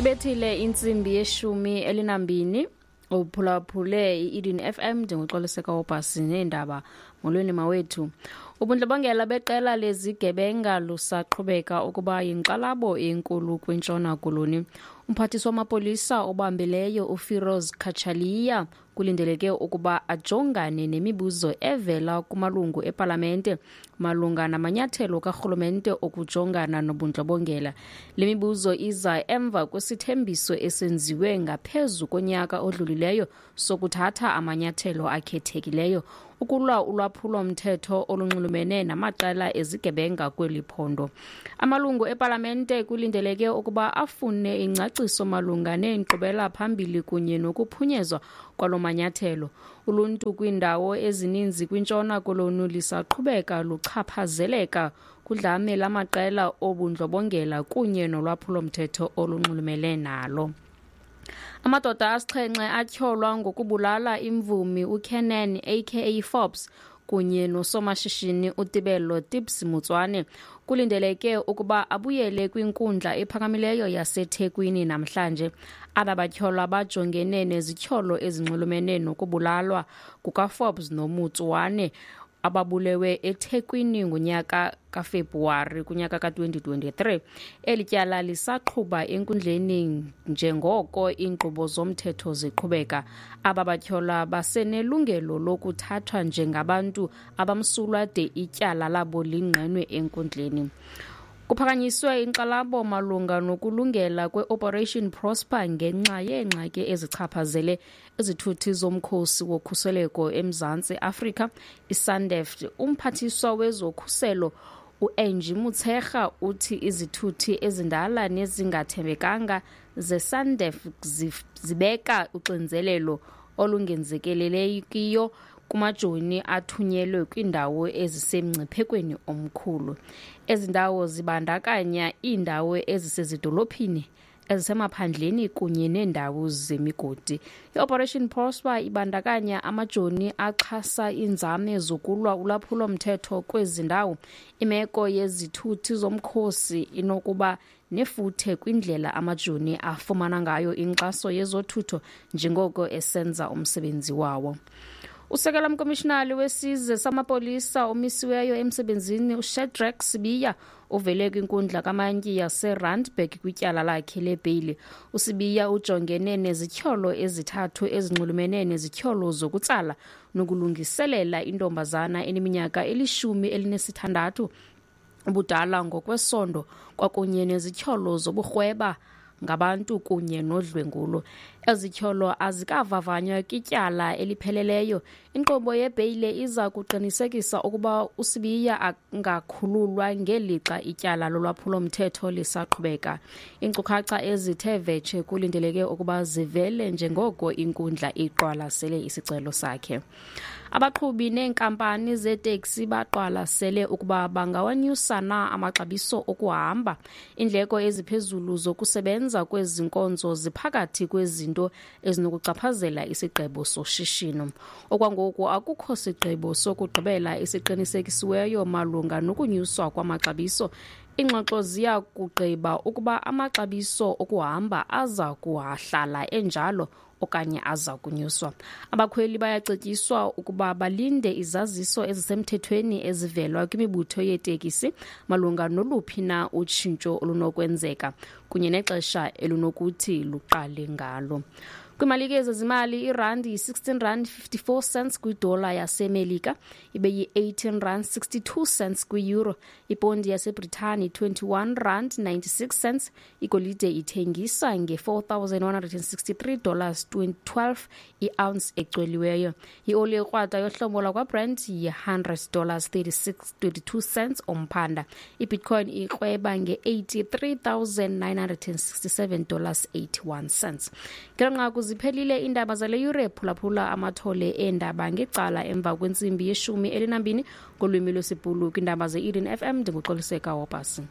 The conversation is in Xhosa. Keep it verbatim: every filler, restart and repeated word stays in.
Ibethile intsimbi yeshumi elinambini, uphulaphule i-Eden F M njengoxoliseka wobhasi neendaba. Molweni mawethu. Ubundlobongela beqela lezigebenga lusaqhubeka ukuba yinkxalabo enkulu kwiNtshona Koloni. Umphathiswa wamapolisa obambileyo uFiroz Cachalia kulindeleke ukuba ajongane nemibuzo evela kumalungu epalamente malunga namanyathelo karhulumente okujongana nobundlobongela. Le mibuzo iza emva kwesithembiso esenziwe ngaphezu konyaka odlulileyo sokuthatha amanyathelo akhethekileyo ukulwa ulwaphulo-mthetho olunxulumene namaqela ezigebenga kweli phondo. Amalungu epalamente kulindeleke ukuba afune ingcaciso malunga neenkqubela phambili kunye nokuphunyezwa kwalo manyathelo. Uluntu kwiindawo ezininzi kwiNtshona Koloni lisaqhubeka luchaphazeleka kudlame lamaqela obundlobongela kunye nolwaphulo-mthetho olunxulumene nalo. Amadoda asixhenxe atyholwa ngokubulala imvumi uKiernan aka Forbes kunye nosomashishini uTebello Tips Motswane kulindeleke ukuba abuyele kwinkundla ephakamileyo yaseThekwini namhlanje. Aba batyholwa bajongene nezityholo ezinxulumene nokubulalwa kukaForbes noMotswane ababulewe eThekwini ngonyaka kaFebruwari kunyaka ka-twenty twenty-three. Eli tyala lisaqhuba enkundleni njengoko iinkqubo zomthetho ziqhubeka. Aba batyholwa basenelungelo lokuthathwa njengabantu abamsulwa de ityala labo lingqinwe enkundleni. Kuphakanyiswe inkxalabo malunga nokulungela kwe-Operation Prosper ngenxa yeengxaki ezichaphazele izithuthi zomkhosi wokhuseleko eMzantsi Afrika, iSANDF. Umphathiswa wezokhuselo uAngie Motshekga uthi izithuthi ezindala nezingathembekanga zeSANDF zibeka uxinzelelo olungenzelelekiyo kumajoni athunyelwe kwiindawo ezisemngciphekweni omkhulu. Ezi ndawo zibandakanya iindawo ezisezidolophini, ezisemaphandleni kunye neendawo zemigodi. I-Operation Prosper ibandakanya amajoni axhasa iinzame zokulwa ulwaphulo-mthetho kwezi ndawo. Imeko yezithuthi zomkhosi inokuba nefuthe kwindlela amajoni afumana ngayo inkxaso yezothutho njengoko esenza umsebenzi wawo. Usekela mkomishinali wesizwe samapolisa omisiweyo emsebenzini uShadrack Sibiya uvele kwinkundla kamantyi yaseRandburg kwityala lakhe lebheyili. USibiya ujongene nezityholo ezithathu ezinxulumene nezityholo zokutsala nokulungiselela intombazana eneminyaka elishumi elinesithandathu ubudala ngokwesondo kwakunye nezityholo zoburhweba ngabantu kunye nodlwengulo. Ezityholo azikavavanywa kwityala elipheleleyo. Inkqubo yebheyile iza kuqinisekisa ukuba uSibiya angakhululwa ngelixa ityala lolwaphulo-mthetho lisaqhubeka. Iinkcukacha ezithe vetshe kulindeleke ukuba zivele njengoko inkundla iqwalasele isicelo sakhe. Abaqhubi neenkampani zeeteksi baqwalasele ukuba bangawanyusa na amaxabiso okuhamba. Iindleko eziphezulu zokusebenza kwezi nkonzo ziphakathi kwezinto ezinokuchaphazela isigqibo soshishino. Okwangoku akukho sigqibo sokugqibela esiqinisekisiweyo malunga nokunyuswa kwamaxabiso. Iingxoxo ziya kugqiba ukuba amaxabiso okuhamba aza kuhlala enjalo okanye aza kunyuswa. Abakhweli bayacetyiswa ukuba balinde izaziso ezisemthethweni ezivelwa kwimibutho yeetekisi malunga noluphi na utshintsho olunokwenzeka kunye nexesha elunokuthi luqale ngalo. Kwimalike zezimali, irandi yi-sixteen rand fifty-four cents kwidola yaseMelika, ibe yi-eighteen rand sixty-two cents kwi-euro. Ipondi yaseBritani twenty-one rand ninety-six cents. Igolide ithengisa nge-four thousand one hundred sixty-three dollars twelve i-ounce ecweliweyo. Ioli ekrwada yohlobo lwakwaBrent yi-hundred dollars thirty-six twenty-two cents umphanda. IBitcoin ikrweba nge-eighty-three thousand nine hundred sixty-seven dollars eighty-one cents. Ngelo nqaku ziphelile iindaba zale yure. Phulaphula amathole eendaba ngecala emva kwentsimbi yeshumi elinambini ngolwimi lwesiBhulu kwiindaba ze-Eden F M. Ndinguxoliseka Wobhasi.